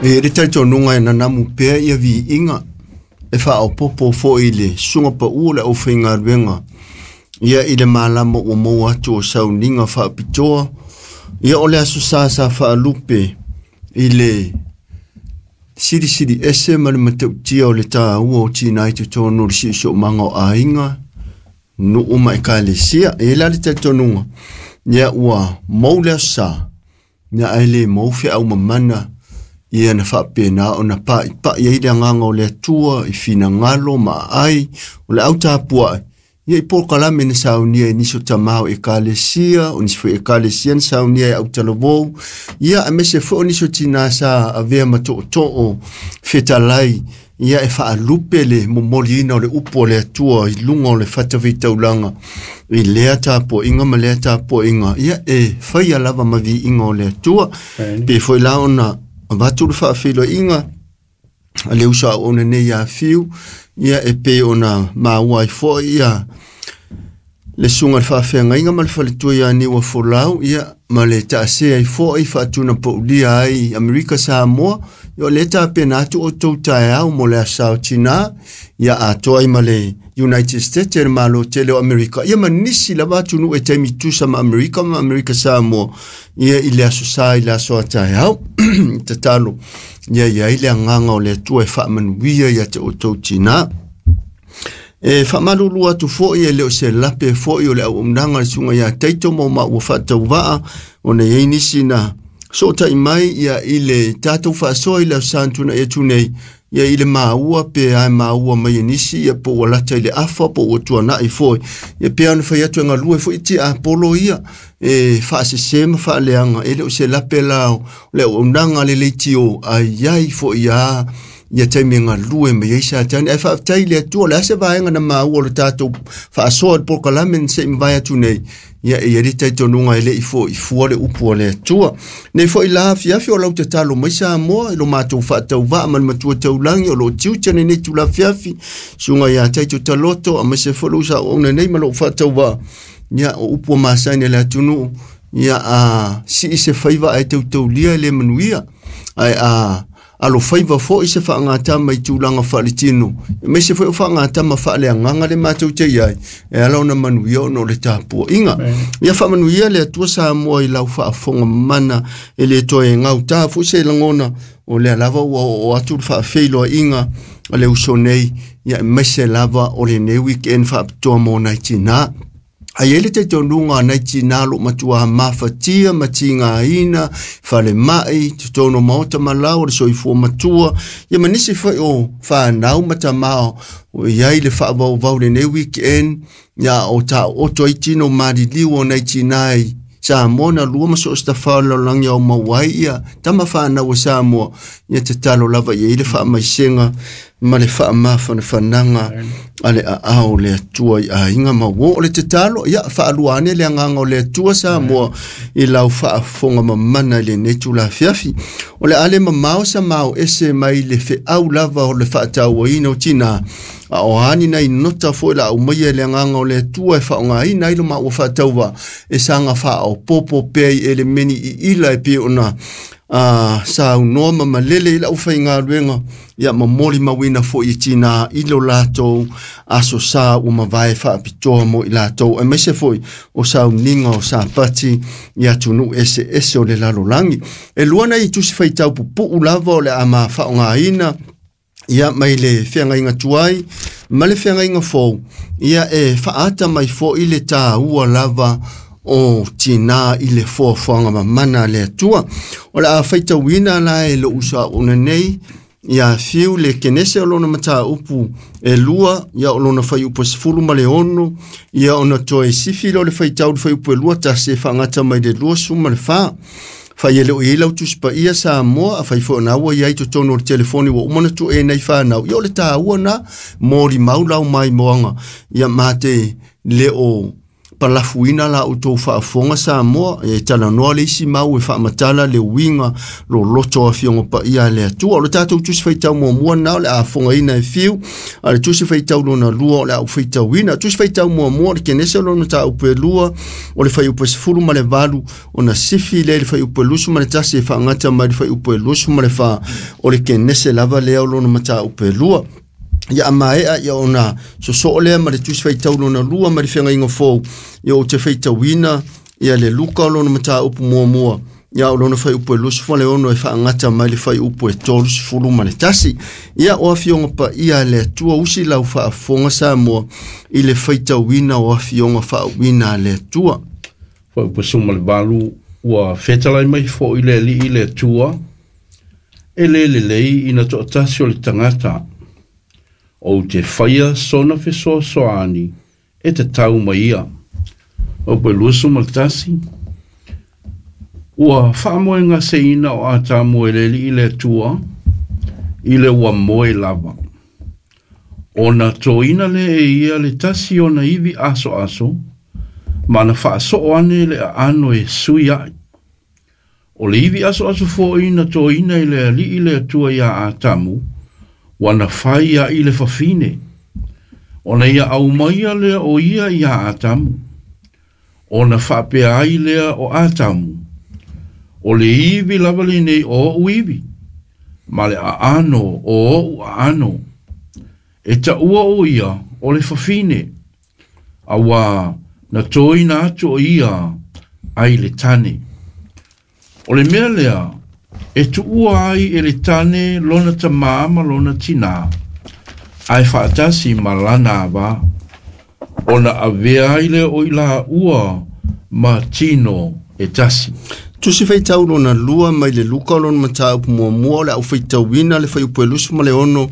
E le talitonuga e nanamu pea ia viiga e faaopoopo foi i le susuga pau o le aufaigaluega ia i le malama ua maua atu o sauniga faapitoa ia o le aso sa sa faalupe i le silisili ese ma le matautia o le taua o tinā i totonu o le siosiomaga o aiga nuu ma ekalesia. E i ai la le talitonuga ia ua mou le aso sa ia ae le mou feau mamana ia na faapena ona pa'ipa'i ai le agaga o le Atua i finagalo ma aai o le autapua'i ia i polokalame na saunia e nisi o tamā o ekalesia, o nisi foi ekalesia na saunia e autalavou, ia aemaise foi o nisi o tinā sa avea ma to'oto'o fetalai ia e faalupe le momoliina o le upu o le Atua i luga o le fatafaitaulaga i lea tapuaiga ma lea tapuaiga ia e faia lava ma viiga o le Atua. Pe foi la ona avatu le faafeiloaiga a le uso auauna nei ia Fiu, ia e pei ona maua ai foi ia le susuga i le faafeagaiga ma le faletua ia Niua Folau, ia ma le taasea ai foi faatunapaulia ai Amerika Samoa, ia o lea tapena atu outou taeao mo le aso o tinā, ia atoa ai ma le United States e le Malo tele o Amerika, ia ma nisi lava atunuu e taimi tusa ma Amerika ma Amerika Samoa, ia i le aso sa i le aso a taeao. Tatalo, ia i ai le agaga o le Atua e faamanuia ia te outou tinā. E faamalulu atu foi e le o se lape foi o le auaunaga a le susuga ia Taito ma o maua faatauvaa ona e i ai nisi na sootai mai ia i le tatou faasoa i le aso sa na tuanai atu nei ia i le maua pe a e maua mai e nisi ia po ua lata i le afa po ua tuanai foi ia pe ona fai atu e galue foi tiapolo ia e faasese ma faaleaga e le o se lape la o le auaunaga a le leitio a i ai foi a ia taimi e galue mai ai Satani. Ae faafetai i le Atua, o le a se vaega na maua o le tatou faasoa i le polokalame na se i mavae atu nei, ia e i ai le talitonuga e le i foi fua le upu a le Atua. Nei foi la afiafi o lau tatalo mai Samoa i lo matou faatauvaa ma le matua taulagi o lo o tiute lenei itula afiafi, susuga ia Taito Taloto, aemaise foi lou sauauna nei ma lou faatauvaa, ia o upu ua masani a le atunuu, ia a sii se faiva ae tautaulia e le manuia, ae a alofaiva foi se faagatama i tulaga faaletino, aemaise foi o faagatama faaleagaga le matou te i ai, e ala ona manuia ona o le tapuaiga. Ia faamanuia le Atua Samoa i lau faafofoga mamana e le toe gautā foi se lagona, o lea lava ua oo atu le faafeiloaiga a le uso nei, ia aemaise lava o lenei weekend faapitoa mo nai tinā. Ae i ai le talitonuga a nai tinā o lo o matua mafatia ma tigaina falemai, totonu o maota ma lao o le soifua matua, ia ma nisi foi o fanau ma tamā o i ai le faavauvau lenei weekend, ia o taooto ai tino maliliu o nai tinā i Samoa na lua ma so o se tafao o le lalolagi ao maua ai ia tama fanau a Samoa, ia tatalo lava i ai le faamaisega ma le faamafanafanaga a le aao o le Atua i aiga ma uo. O le tatalo, ia faalua ane le agaga o le Atua Samoa i lau faafofoga mamana i lenei itula afiafi. O le a le mamao sa mao ese mai le feau lava o le faatauaina o tinā, a o a ni nai nota foi la aumaia e le agaga o le Atua e faaaogaina ai lo maua faatauvaa e saga faaopoopo pea i elemeni iila e pei ona saunoa ma malele i le aufaigaluega, ia ma molimauina foi i tinā i lo latou aso sa ua mavae faapitoa mo i latou, aemaise foi o sauniga o Sapati i atunuu eseese o le lalolagi. E lua nai tusi faitau pupuu lava o le a ma faaaogaina ia mai le feagaiga tuai ma le feagaiga fou, ia e faaata mai foi le taua lava o tinā i le foafoaga mamana a le Atua. O le a faitauina la e lou uso auauna nei ia Fiu le Kenese o lona mataupu e lua, ia o lona fuaiupu e 16, ia ona toe sifi lea o le faitau le fuaiupu e 21 e faagata mai le 24. Fai e le o i ai lau Tusi Paia Samoa, a fai foi o na ua i ai totonu o le telefoni ua uma ona tuu nei fanau, ia o le taua na molimau lau maimoaga, ia mate le o palafuina la outou faafofoga Samoa e talanoa le isi mau e faamatala le uiga loloto o afioga paia a le Atua. O le tatou tusi faitau muamua lena o le a fogaina e fiu, a le tusi faitau lona lua o le a ou faitauina. Tusi faitau muamua o le Kenese lona mataupu e 2 o le fuaiupu 18 ona sifi lea i le fuaiupu 21 e faagata mai le fuaiupu 24 o le Kenese lava lea o lona mataupu e 2. Ia amaea ia ona sosoo lea ma le tusi faitau lona lua ma le feagaiga fou, ia ou te faitauina ia le Luka o lona mataupu muamua, ia o lona fuaiupu 26 e faagata mai le fuaiupu 31. Ia o afioga paia a le Atua, usi lau faafofoga Samoa i le faitauina o afioga faauuina a le Atua. Fuaiupu 18, ua fetalai mai foi le Alii le Atua, e le lelei ina toatasi o le tagata, ou te faia sona fesoasoani e tatau mai ia. Fuaiupu 21, ua faamoegaseina o Atamu e le Alii le Atua i le ua moe lava. Ona toina lea e ia le tasi ona ivi asoaso, ma na faasoo ane le aano e sui ai. O le ivi asoaso foi na toina i le Alii le Atua ia Atamu, ua na fai ai le fafine. Ona ia aumaia lea o ia ia Atamu. Ona faapea ai lea o Atamu, o le ivi lava lenei o ou ivi, ma le aano o ou aano. E taua o ia o le fafine, auā na toina atu o ia ai le tane. O le mea lea, e tuua ai e le tane lona tamā ma lona tinā, ae faatasi ma lana avā. Ona avea ai lea o i laua ma tino e tasi. Tusi faitau lona lua mai le Luka o lona mataupu muamua o le au faitauina le fuaiupu 26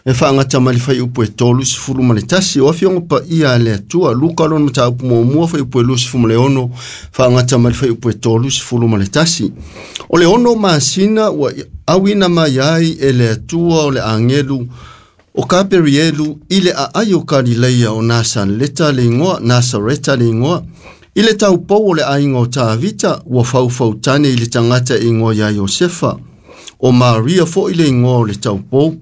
e faagata mai le fuaiupu 31. O afioga paia a le Atua, Luka lona mataupu muamua fuaiupu 26 faagata mai le fuaiupu 31. O le 6 masina ua auina mai ai e le Atua o le agelu o Kaperielu i le aai o Kalileia o Nasaleta le igoa, Nasareta le igoa, i le taupou o le aiga o Tavita, ua faufautane i le tagata e igoa ia Iosefa, o Maria foi le igoa o le taupou.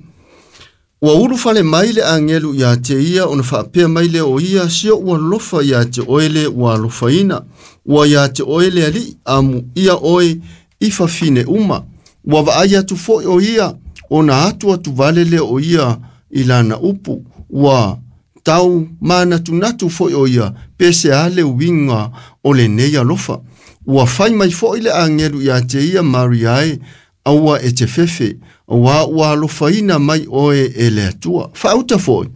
Ua ulufale mai le agelu ia te ia ona faapea mai lea o ia, si o ua lofa ia te oe le ua alofaina, ua ia te oe le Alii, amu ia oe i fafine uma. Ua vaai atu foi o ia, ona atu atu vale lea o ia i lana upu, ua tau manatunatu foi o ia, pe se a le uiga o lenei alofa. Ua fai mai foi le agelu ia te ia Maria e, aua e te fefe, aua ua alofaina mai oe e le Atua. Faauta foi,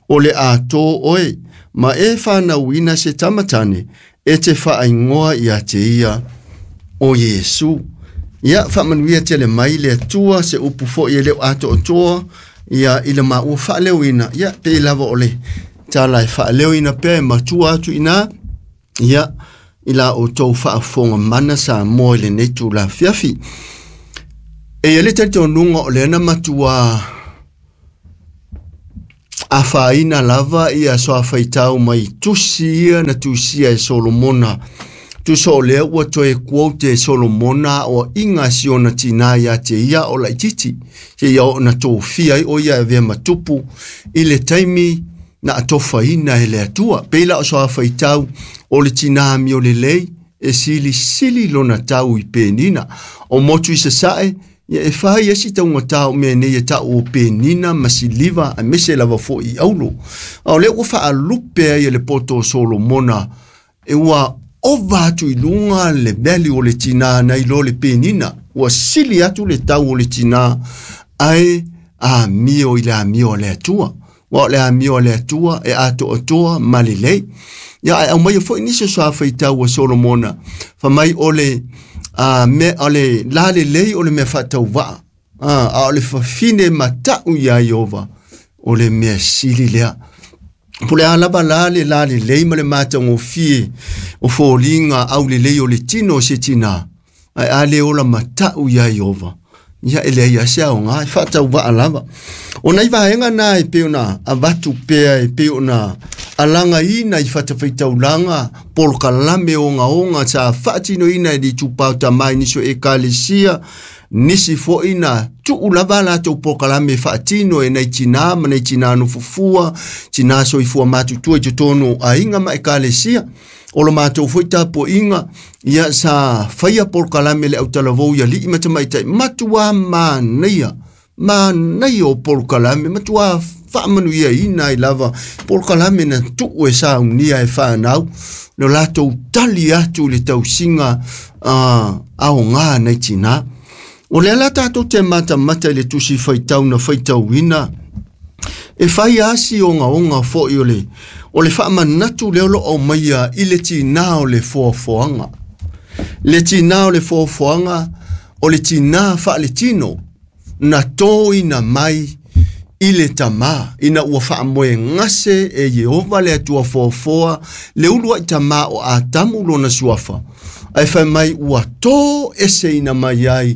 o le ato oe, ma e whanauina se tamatane, e te whaingoa ia te ia o Iesu. Ia, whaamanuia tele mai le Atua, se upu foi e leo ato o toa, ia i le maua whaaleuina, ia pe lava o le tala e whaaleuina pe matua atu ina, ia i la o tau whaafonga mana sa moe le nei tū la fiafi. E ia le talitonuga o lea na matua afaina lava ia soafaitau mai tusi ia na tusia e Solomona. Tusa o lea ua toe quote e Solomona o inga si ona tina ia te ia o laititi. Se ia o na tofia ai o ia e vea matupu i le taimi na atofaina e le Atua. Peila o soafaitau o le tina mi o le lei e sili sili lona tau i penina. O motu i sasae, ia e whai esi taunga tau mea nei e tau o penina ma siliva a mese lava fo i aulo. A o lea ua whaalupe ai e le poto o Solomona e ua ova atu i lunga le value o le tina nei lo le penina. Ua sili atu le tau o le tina ai a mio i le amio o le Atua. Ua o le amio o le Atua e ato atoa ma lelei. Ia ai au mai foi nisi o soafaitau o Solomona. Fa mai o le me o le la le lei o le mea faatauvaa. A o le fafine matau ia Iova o le mea sili lea. Po le a lava la le la le lei ma le matagofie o foliga au lelei o le tino o se tinā, ae a le ola matau ia Iova, ia e leai lava se aoga e faatauvaa lava. O nai vaega na e pei ona avatu pea e pei ona Alagaina i fatafaitaulaga polokalame ogaoga sa faatinoina e le itupa o tamā i nisi o ekalesia nisi foʻi na tuʻu lava a latou polokalame faatino e nai tinā ma nai tinā nofofua tinā soifua matutua i totonu o aiga ma ekalesia o lo matou foi tapuaʻiga ia sa faia polokalame le autalavou ia liʻi ma tamaitaʻi matuā manaia manaia o polokalame matuā faamanuiaina ai lava polokalame na tuu e saunia e fanau lo latou tali atu i le tausiga aogā nai tinā. O lea la tatou te matamata i le tusi faitau na faitauina e fai asi ogaoga foʻi o le faamanatu lea o loo aumaia i le tinā o le foafoaga. Le tinā o le foafoaga o le tinā faaletino na tōina mai i le tamā ina ua faamoegase e Ieova le Atua foafoa le ulu ai tamā o Atamu lona suafa ae fai mai ua tō eseina mai ai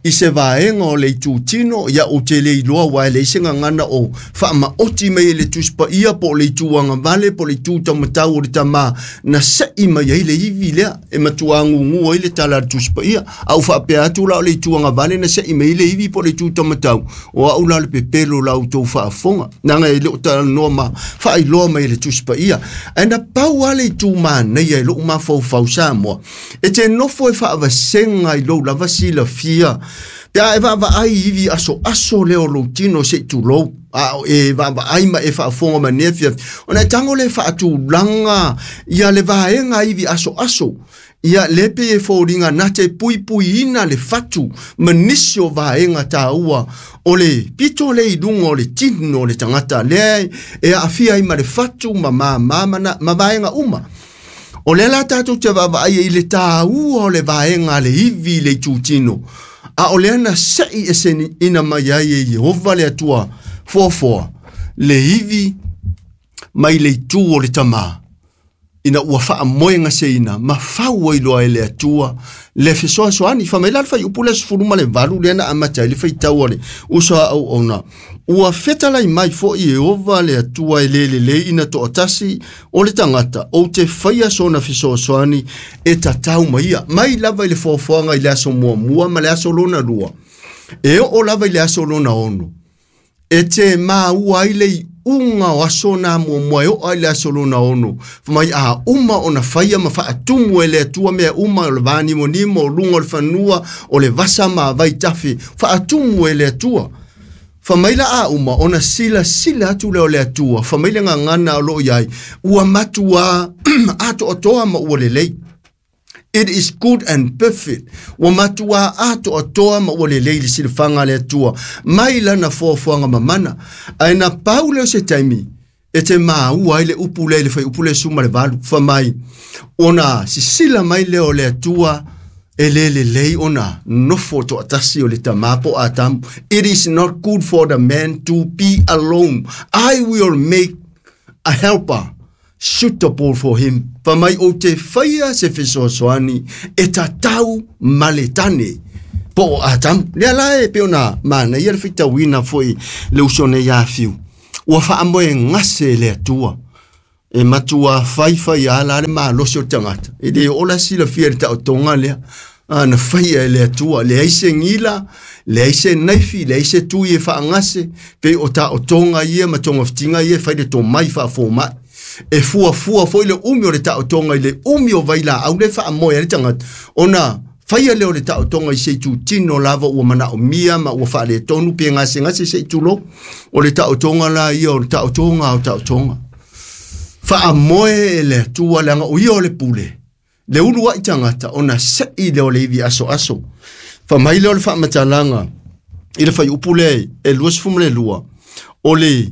i se vaega o le itutino ia ou te le iloa uae leai se gagana o faamaoti mai e le Tusi Paia po o le itu agavale po o le itu taumatau o le tamā na seʻi mai ai le ivi lea e matuā gugu ai le tala a le Tusi Paia a ou faapea atu la o le itu agavale na seʻi mai ai le ivi po o le itu taumatau o aʻu la le pepelo la outou faafofoga leaga e le o talanoa ma faailoa mai e le Tusi Paia ae na pau lava le itu manaia i loʻu mafaufau Samoa e te nofo e faavasega i lou lava silafia pe a e vaavaai i ivi asoaso lea o lou tino se i tulou a o e vaavaai ma e faafofoga ma nei afiafi ona e tago lea e faatulaga ia le vaega ivi asoaso ia lea pei e foliga na te puipuiina le fatu ma nisi o vaega taua o le pito lea i luga o le tino o le tagata lea e aafia ai ma le fatu ma māmā ma vaega uma. O lea la tatou te vaavaai ai i le tāua o le vaega a le ivi i le itutino, a o lea na seʻi eseina mai ai e Ieova le Atua foafoa le ivi mai le itu o le tamā ina ua faamoegaseina ma fau ai loa e le Atua le fesoasoani. Fai mai la le fuaiupu le 18 lea na amata ai le faitau a le uso a auauna. Ua fetalai mai foʻi Ieova le Atua e lē lelei ina toʻatasi o le tagata ou te faia sona fesoasoani e tatau ma ia. Mai lava i le foafoaga i le aso muamua ma le aso lona lua e oo lava i le aso lona ono e te maua ai le iuga o aso na muamua e oo ai le aso lona ono. Fai mai a uma ona faia ma faatumu e le Atua mea uma o le vanimonimo o luga o le fanua o le vasa ma vaitafe faatumu e le Atua. Fai mai la a uma ona silasila atu lea o le Atua fai mai le gagana o loo iai ua matuā atoatoa ma ua lelei. It is good and perfect. Ua matuā atoatoa ma ua lelei le silafaga a le Atua mai lana foafoaga mamana. Ae na pau lea o se taimi e te maua ai le upu lea i le fuaiupu le 18 fai mai ona sisila mai lea o le Atua e lē lelei ona nofo toʻatasi o le tamā po o Atamu. It is not good for the man to be alone. I will make a helper suitable for him. Fai mai ou te faia se fesoasoani e tatau ma le tane po o Atamu. Lea la e pei ona manaia le faitauina foʻi le uso nei afiu. Ua faamoegase e le Atua e matuā faifai a la le malosi o le tagata e lē oo la silafia i le taotoga lea na faia e le Atua leai se gila leai se naifi leai se tui e faagase pei o taotoga ia ma togafitiga ia e fai le tomai faafomaʻi e fuafua foi le umi o le taotoga i le umi o vailaau le faamoe ai le tagata ona faia lea o le taotoga i se itutino lava ua manaomia ma ua faaletonu pe gasegase se i tulou. O le taotoga la ia o le taotoga o taotoga faamoe e le Atua leaga o ia o le pule le ulu ai tagata ona seʻi lea o le ivi asoaso. Fai mai lea o le faamatalaga i le fuaiupu lea e 22 o le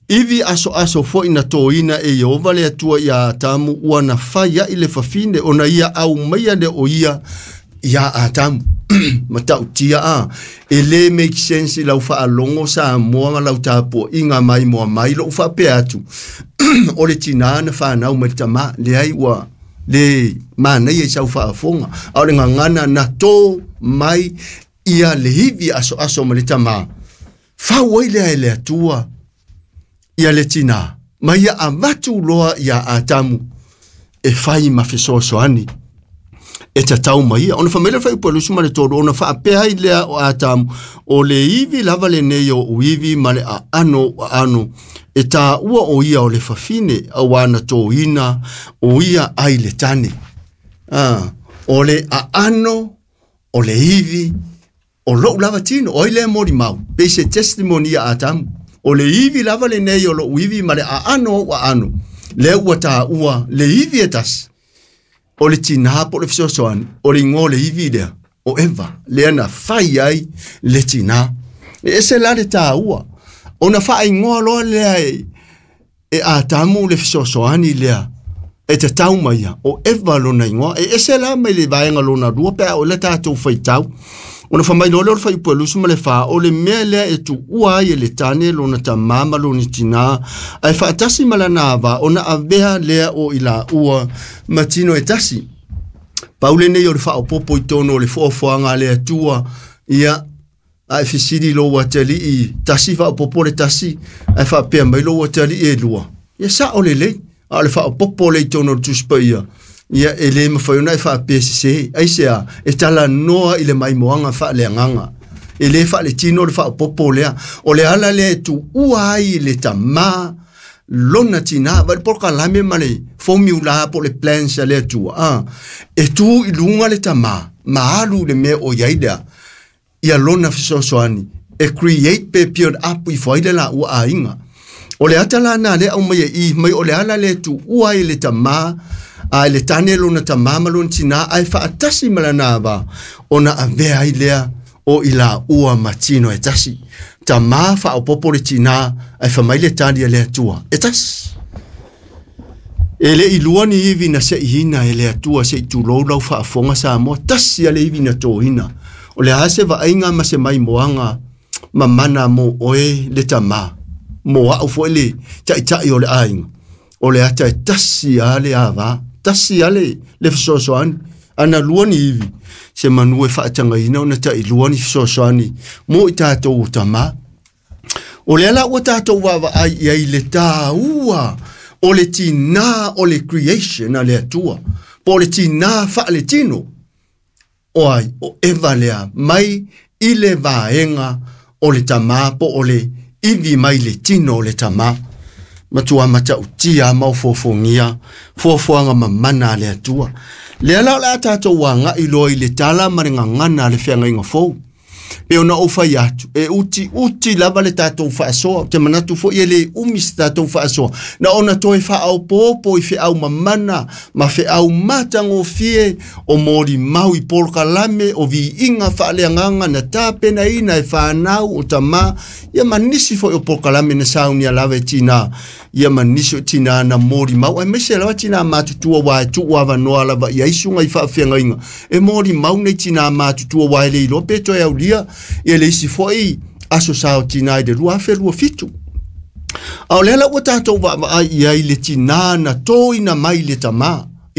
ivi asoaso foʻi na tōina e Ieova le Atua iā Atamu ua na fai ai le fafine ona ia aumaia lea o ia iā Atamu. Matautia a e lē make sense i lau faalogo Samoa ma lau tapuaʻiga mai moa mai loʻu faapea atu o le tinā na fanau mai le tamā leai ua le manaia i sau faafofoga a o le gagana na tō mai ia le ivi asoaso ma le tamā fau ai lea e le Atua ia le tinā Ma ia avatu loa ia Atamu e fai ma fesoasoani e tatau mai ia. Ona fai mai le fuaiupu e 23, ona faapea ai lea o Atamu, o le ivi lava lenei o uivi ma le aano o aano, e tāua o ia o le fafine, auā na tōina o ia ai le tane. O le aano, o le ivi, o lou lava tino, o ai lea molimau, pei se testimony ia Atamu. O le ivi lava lenei o lou ivi ma le aano o aano, lea ua tāua le ivi e tasi, o le tinā po o le fesoasoani, o le igoa o le ivi lea, o Eva, lea na fai ai le tinā. E ese la le tāua, ona faaigoa loa lea e Atamu le fesoasoani lea, e tatau mai ia, o Eva lona igoa. E ese la mai le vaega lona lua pe a o le tātou faitau. Ona fai mai loa lea o le fuaiupu e 24, o le mea lea e tuua ai e le tane lona tamā ma lona tinā, ae faatasi ma lana ava, ona avea lea o i laua ma tino e tasi. Pau lenei o le faaopoopo i tonu o le foafoaga a le Atua, ia, ae fesili lou atalii, tasi faaopoopo le tasi, ae faapea mai lou atalii e lua. Ia sao lelei, a o le faaopoopo le i tonu o le Tusi Paia, ia e le mafai ona e faapea sese, aisea, e talanoa i le maimoaga faaleagaga. E le faaletino le faaopoopo lea. O le ala lea e tuua ai le tamā lona tinā, vai le polokalame ma le formula po o le plans a le Atua. E tu i luga le tamā, ma alu le mea o i ai lea, ia lona fesoasoani, e create pe build up ifo ai le laua aiga. O le ata la na lea aumai e i mai o le ala lea e tuua ai le tamā, a le tane lona tamā ma lona tinā, ae faatasi ma lana ava, ona avea ai lea o i laua ma tino e tasi. Tamā faaopoopo le tinā, ae fai mai le tali a le Atua, e tasi. E le i lua ni ivi na seiina e le Atua se i tulou lau faafofoga Samoa, tasi a le ivi na tōina. O le a se vaaiga ma se maimoaga mamana mo oe le tamā, mo au foi le taitai o le aiga. O le ata e tasi a le ava, tasi a le fesoasoani, ana lua ni ivi, se manu e faatagaina ona tailua ni fesoasoani mo i tātou o tamā. O le ala ua tātou vaavaai i ai le tāua o le tinā o le creation a le Atua, po o le tinā faaletino, o ai, o Eva lea, mai i le vaega o le tamā po o le ivi mai le tino o le tamā. Matua matautia ma ofofogia, foafoaga mamana a le Atua. Lea la o le a tātou agai loa i le tala ma le gagana a le feagaiga fou. Pe ona ou fai atu, e uti uti lava le tātou faasoa, te manatu foi e le umi se tātou faasoa, na ona toe faaopoopo i feau mamana, ma feau matagofie o molimau i polokalame o viiga faaleagaga na tapenaina e whanau o tamā, ia ma nisi foi o polokalame na saunia lava e tinā, ia ma nisi o tinā na molimau, aemaise lava tinā matutua uā e tuu avanoa lava i ai suga i faafeagaiga, e molimau nei tinā matutua uā e le iloa pe toe aulia, ia le isi foi aso sa o tinā i le 2027. A o le ala ua tātou vaavaai i ai le tinā na tōina mai le tamā,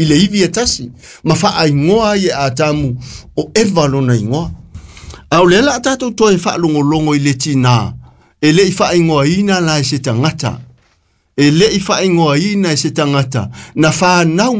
i le ivi e tasi, ma faaigoa ai e Atamu o Eva lona igoa. A o le ala a tātou toe faalogologo i le tinā, e le i faaigoaina la e se tagata, e le i faaigoaina e se tagata, na whanau